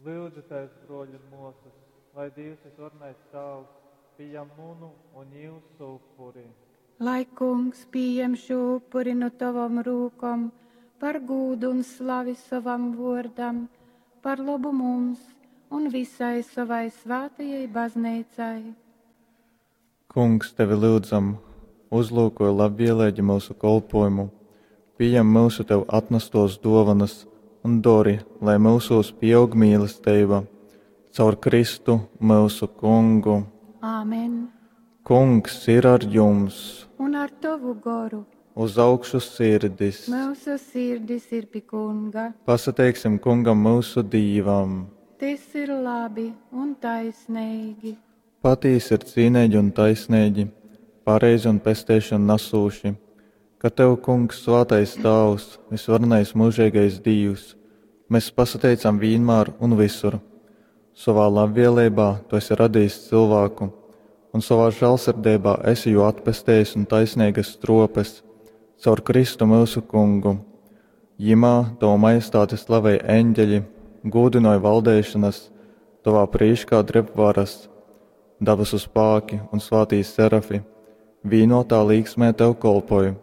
Lyudzitēs, bruoļi un muosys, lai Dīvs Vysvarenais Tāvs pījam munu un jiusu upuri. Lai Kungs pījem šū upuri nu tovom rūkom par gūdu un slavi sovam vuordam, par lobu mums un visai sovai svātajai bazneicai. Kungs, tevi lyudzam, uzlūkoj labvieleigi myusu kolpōjumu, pījem myusu tev atnastōs dōvonas un dori, lai myusūs pīaug mīlesteiba. Caur Kristu, myusu Kungu. Āmen. Kungs ir ar jums! Un ar tovu goru. Uz augšu sirdis! Myusu sirdis ir pi Kunga. Pasateiksim Kungam myusu Dīvam! Tys ir labi un taisneigi. Patīsi ir cīneigi un taisneigi, pareizi un pesteišonu nasūši, ka tev, Kungs, svātais Tāvs, vysvarenais myužeigais Dīvs, mes pasateicam vīnmār un vysur. Sovā labvieleibā tu esi radījis cylvāku un sovā žālsirdeibā esi jū atpestejis nu taisneigas struopes caur Kristu myusu Kungu. Jimā tovu majestāti slavej eņģeļi, gūdynoj valdeišanas, tovā prīškā dreb varas. Dabasu spāki un svātī serafi vīnotā līksmē tev kolpoj.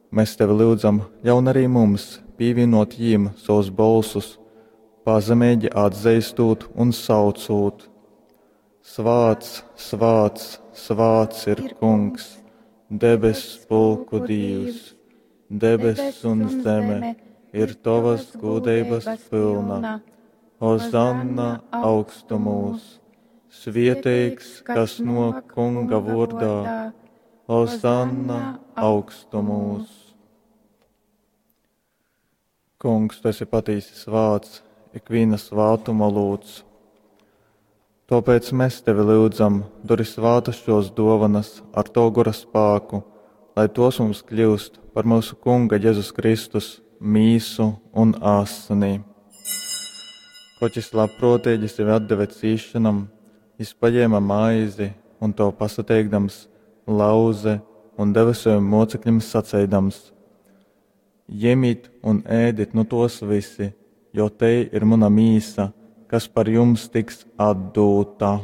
Mēs tevi lyudzam, ļaun arī mums pīvienot jīm savus bolsus, pazemeigi atzeistūt un saucūt. Svāts, svāts, svāts ir Kungs, debess pulku Dīvs, debess un zeme ir tovas gūdeibas pilna. Hozanna augstumūs! Svieteigs, kas no Kunga vārdā, Hozanna augstumūs! Kungs, tu esi patīsi svāts, ikviena svātuma lūdz. Tāpēc mēs tevi lyudzam, dori svātas šos dovanas ar to gora spāku, lai tos mums kļūst par mūsu Kunga Jēzus Kristus mīsu un asini. Koč jis labprōtīgi sevi atdeve cīšanam, jis paņēma maizi un to pasateikdams, lauze un deva saviem mocekļiem saceidams: Ņemit un ēdit nu tos visi, jo te ir mana mīsa, kas par jums tiks atdūta.